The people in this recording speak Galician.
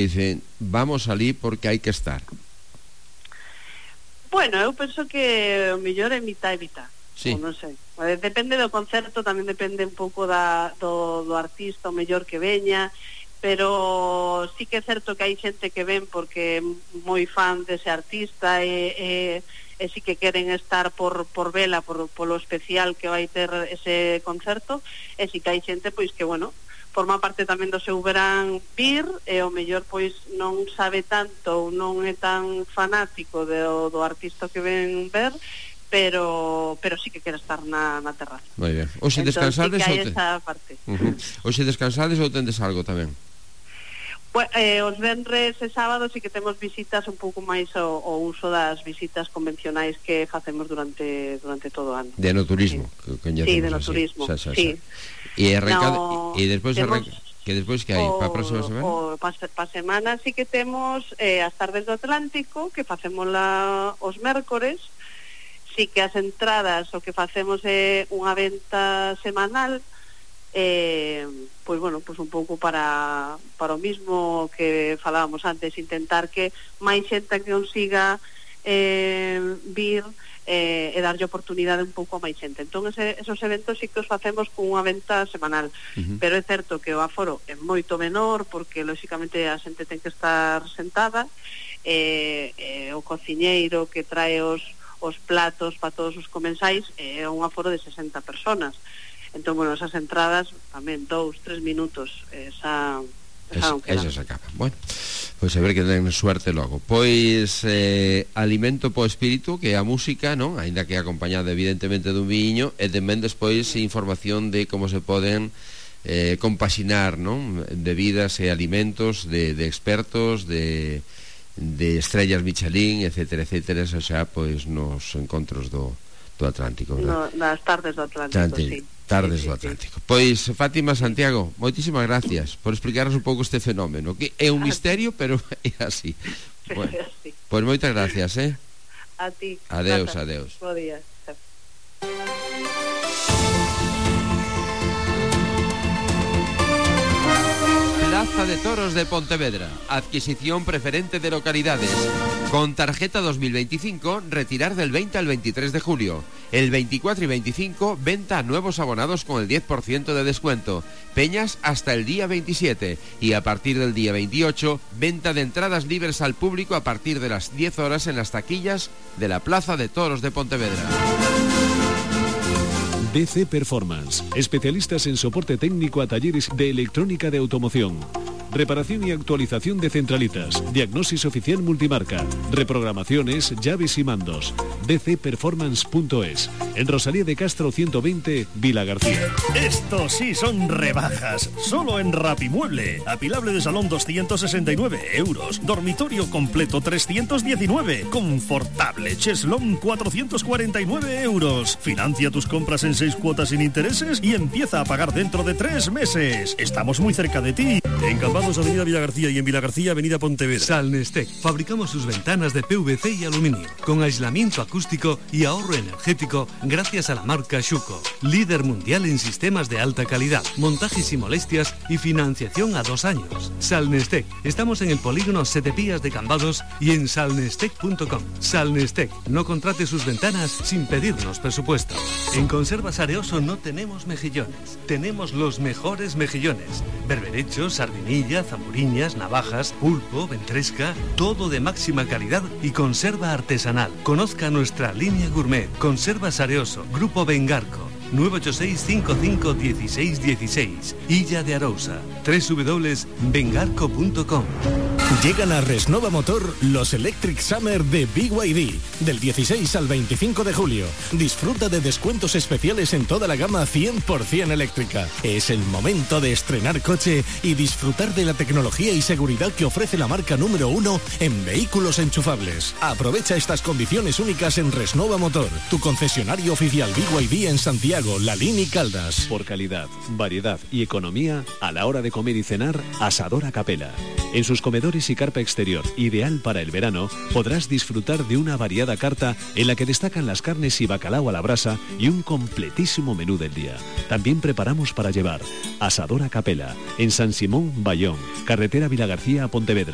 dicen, vamos alí porque hai que estar? Bueno, eu penso que o mellor é mitad e mitad. Sí. Non sei. Depende do concerto, tamén depende un pouco do artista, o mellor que veña, pero sí que é certo que hai xente que ven porque é moi fan dese artista e sí que queren estar por vela, polo especial que vai ter ese concerto, e sí que hai xente pois que, bueno, forma parte tamén do seu verán vir, e o mellor pois non sabe tanto ou non é tan fanático do artista que ven ver, pero sí que quere estar na terraza. Moi ben. Oxe descansades sí que hai esa parte. Oxe descansades ou tendes algo tamén? Os venres e sábados sí que temos visitas un pouco máis o uso das visitas convencionais que facemos durante todo o ano. De no turismo, sí. Sí, de no turismo, sí. E despois que despois que hai para a próxima semana? Para semana sí que temos as tardes do Atlántico, que facemos os mércores. Sí que as entradas o que facemos é unha venta semanal, pois bueno, pois un pouco para o mismo que falábamos antes, intentar que máis xente que consiga vir e darlle oportunidade un pouco a máis xente. Entón esos eventos sí que os facemos con unha venta semanal, pero é certo que o aforo é moito menor porque lóxicamente a xente ten que estar sentada, o cociñeiro que trae os platos para todos os comensais é un aforo de 60 personas. Entón, bueno, esas entradas tamén 2-3 minutos esa se acaba. Bueno, pois a ver que ten suerte logo. Pois alimento po espírito, que é a música, non? Aínda que acompañada evidentemente dun viño, e tamén despois información de como se poden compaxinar, non? Bebidas e alimentos de expertos, de estrellas Michelin, etcétera, etcétera, eso xa pois nos encontros do Atlántico, nas tardes do Atlántico, sí. Tardes do Atlántico. Pois Fátima, Santiago, moitísimas gracias por explicarnos un pouco este fenómeno, que é un misterio, pero é así. Bueno, pois moitas gracias, a ti. Adeus. Bo día. Plaza de Toros de Pontevedra. Adquisición preferente de localidades. Con tarjeta 2025, retirar del 20 al 23 de julio. El 24 y 25, venta a nuevos abonados con el 10% de descuento. Peñas hasta el día 27. Y a partir del día 28, venta de entradas libres al público a partir de las 10 horas en las taquillas de la Plaza de Toros de Pontevedra. DC Performance, especialistas en soporte técnico a talleres de electrónica de automoción, reparación y actualización de centralitas, diagnosis oficial multimarca, reprogramaciones, llaves y mandos. dcperformance.es, en Rosalía de Castro 120, Vila García. Esto sí son rebajas, solo en Rapimueble. Apilable de salón 269 euros, dormitorio completo 319, confortable cheslón 449 euros. Financia tus compras en 6 cuotas sin intereses y empieza a pagar dentro de 3 meses. Estamos muy cerca de ti. En Cambados, Avenida Vila García, y en Vila García, Avenida Pontevedra. Salnestec. Fabricamos sus ventanas de PVC y aluminio, con aislamiento acústico y ahorro energético gracias a la marca Schuco. Líder mundial en sistemas de alta calidad, montajes sin molestias y financiación a 2 años. Salnestec. Estamos en el polígono Setepías de Cambados y en salnestec.com. Salnestec. No contrate sus ventanas sin pedirnos presupuesto. En Conservas Areoso no tenemos mejillones. Tenemos los mejores mejillones. Berberechos, sardinilla, zamburiñas, navajas, pulpo, ventresca, todo de máxima calidad y conserva artesanal. Conozca nuestra línea gourmet. Conservas Areoso, Grupo Bengarco. 986-55-1616. Illa de Arousa. www.bengarco.com. Llegan a Resnova Motor los Electric Summer de BYD, del 16 al 25 de julio. Disfruta de descuentos especiales en toda la gama 100% eléctrica. Es el momento de estrenar coche y disfrutar de la tecnología y seguridad que ofrece la marca número 1 en vehículos enchufables. Aprovecha estas condiciones únicas en Resnova Motor, tu concesionario oficial BYD en Santiago, Lalín y Caldas. Por calidad, variedad y economía, a la hora de comer y cenar, Asadora Capela. En sus comedores y carpa exterior, ideal para el verano, podrás disfrutar de una variada carta en la que destacan las carnes y bacalao a la brasa y un completísimo menú del día. También preparamos para llevar Asadora Capela, en San Simón, Bayón, carretera Vilagarcía a Pontevedra.